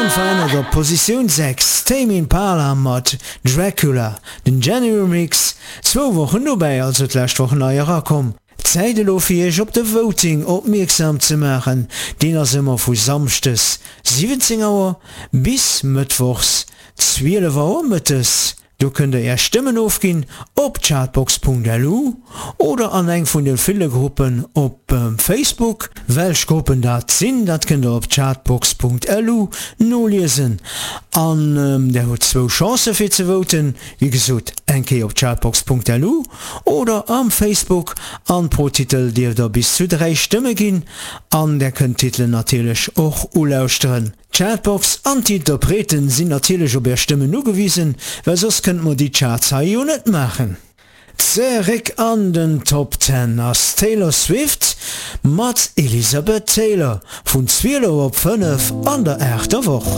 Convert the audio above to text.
Onverännert op Positioun 6, Tame Impala mat Dracula, den January Mix, zwou Wochen dobäi, also d'lescht Woch nei erakomm. Zäit elo fir iech op de Voting opmierksam ze maachen, deen ass ëmmer vu Samschdes 17 Auer bis Mëttwochs 12 Auer mëttes. Do kënnt der är Stëmmen ofginn op chartbox.lu oder an eng vun de ville Gruppen op Facebook. Welch Gruppen dat sinn, dat kënnt der op chartbox.lu noliesen. An der hutt zwou Chancen fir ze voten, wéi gesot eng Kéier op chartbox.lu oder am Facebook. An pro Titel dierft der bis zu 3 Stëmme ginn. An der kënnt d'Titelen natierlech och ulauschteren. D'Chartbox an d'Interpreten sinn natierlech op är Stëmmen ugewisen, well soss kënnte mer déi Charts hei jo net maachen. Zeréck an den Top Ten ass d'Taylor Swift mat Elizabeth Taylor vun 12 op 5 an der aachter Woch.